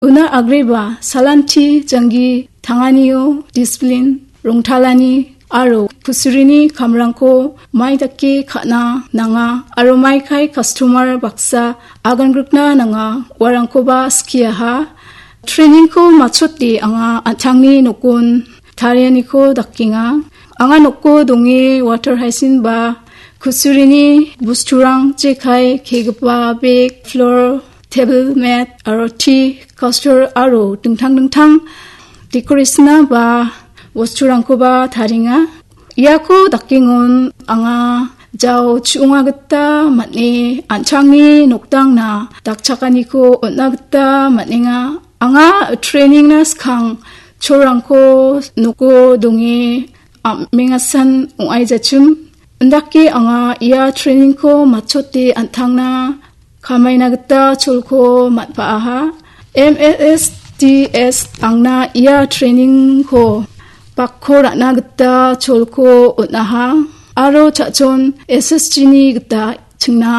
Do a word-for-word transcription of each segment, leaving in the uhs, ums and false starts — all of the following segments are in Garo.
Una agreba salanti janggi tanganio disiplin rongtalani aro kusurini kamrangko mai dake ka·na nanga aro maikai kastomar baksa agangrikna nanga uarangkoba skiaha. Treningko matchote anga an·tangni nokon tarianiko dakenga. Anga noko donge water hygiene ba kusurini bosturang jekai kegipa bek, floor, table mat aro tea coaster aro dingtang dingtang decoration-a ba bosturangkoba tarienga. Iako dakengon anga jao chu·onga gita man·e an·tangni nokdangna dakchakaniko on·a gita man·enga. Anga treningna skang cholrangko noko donge am·engasan ong·aijachim. Indake anga ia treningko matchote an·tangna kamaina gita cholko man·paaha. M S S D S angna ia treningko bakko ra·na gita cholko on·aha aro cha·chon S S G ni gita chingna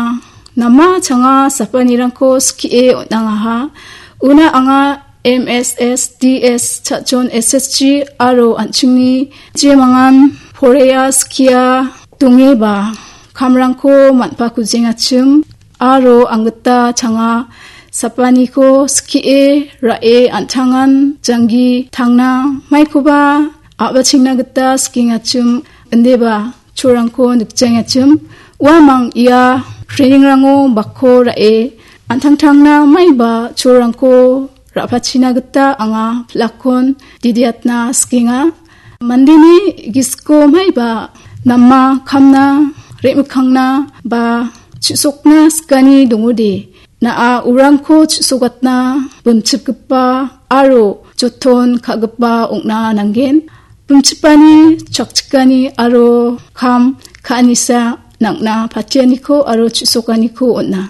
nama changa sapanirangko skie on·angaha. Una anga M S S D S cha·chon S S G aro an·chingni jemangan porea skia dongeba kamrangko man·pakujengachim aro anggita changa sapaniko skie ra·e an·tangan janggi tangna maikoba a·bachengna gita skengachim, indeba cholrangko nikjengachim. Uamang ia treningrango bakko ra·e an·tangtangna maiba cholrangko ra·pachina gita anga pilakkon didiatna sikenga. Mandeni gisiko maiba nama kamna, re·mikkangna ba chu·sokna sikani dongode, na·a urangko chu·sogatna bimchipgipa aro joton ka·gipa ong·na nanggen. Bimchipani, chakchikani aro kam ka·anisa nang·na patianiko aro chu·sokaniko on·a.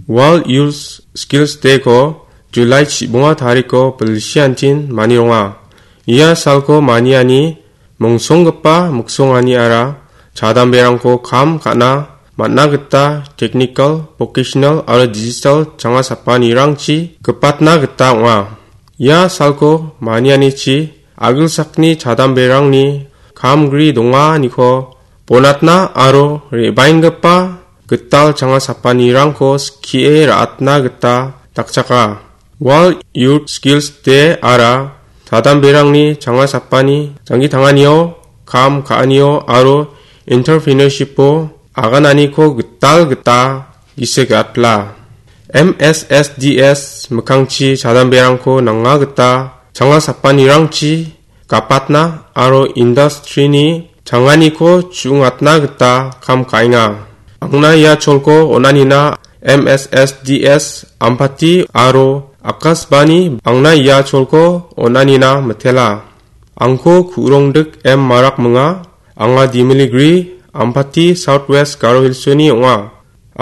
World Youth Skills Day-ko July chibonga tariko bilsiantin manironga. Ia salko maniani mongsonggipa miksonganiara chadamberangko kam ka·na man·a gita technical, vocational aro digital changa sapanirangchi gipatna gita ong·a. Ia salko manianichi agilsakni chadamberangni kamgri donganiko bonatna aro re·baenggipa gital changa sapanirangko skie ra·atna gita dakchaka. World Youth Skills Day-ara chadamberangni changa sapani janggi tanganio, kam ka·anio aro entrepreneurship-o agananiko gital gita gisik atla. M S S D S mikkangchi chadamberangko nanga gita changa sapanirangchi gapatna aro industry-ni changaniko chu·ungatna gita kam ka·enga. Angna ia cholko on·anina M S S D S Ampati aro Akashvani angna ia cholko on·anina mitela. Angko Kurongdik M Marak minga, anga Dimiligri, Ampati, South West Garo Hills-oni ong·a.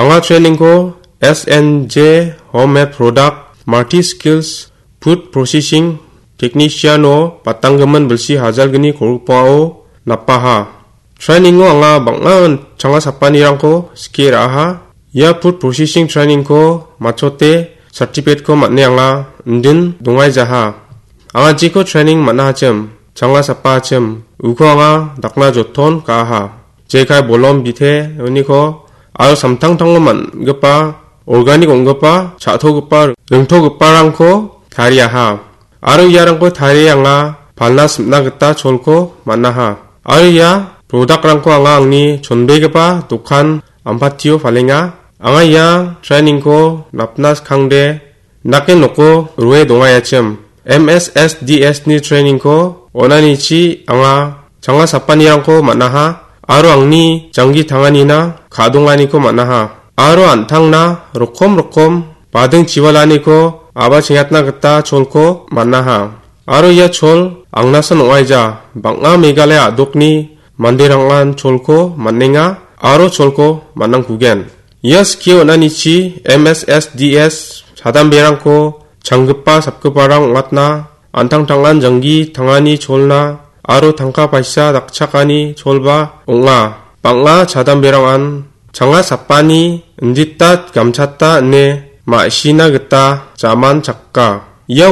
Anga trainingko S N J Homemade Product, Multi Skills, Food Processing Technician-o batanggimin bilsi hajalgni kolgrikbao napaha. Training-o anga bang·a changa sapanirangko skie ra·aha. Ia food processing training-ko matchote certificate-ko man·e anga indin dongaijaha. Anga jeko training man·a hachim, changa sapa hachim, uko anga dakna joton ka·aha. Jekai bolom bite uniko aro samtangtango man·gipa organic ong·gipa, cha·togipa, ringtogiparangko tariaha. Aro iarangko tarie anga palna sim·na gita cholko man·aha. Aro ia product-rangko anga angni chonbegipa dokan Ampatio palenga. Anga ia training-ko napna skangde nake noko rue dongaiachim. M S S D S-ni training-ko on·anichi anga changa sapanirangko man·aha aro angni janggi tanganina ka·donganiko man·aha. Aro an·tangna rokom rokom bading chiwalaniko a·bachengatna gita cholko man·aha. Aro ia chol angnasan ong·aija, bang·a Meghalaya a·dokni manderangan cholko man·enga aro cholko man·angkugen. Ia skie on·anichi M S S D S chadamberangko changgipa sapgiparang ong·atna, an·tangtangan janggi tangani cholna aro tangka paisa dakchakani cholba ong·a. Bang·a chadamberangan changa sapani indita gamchata ine ma·sina gita jaman chakka. Ia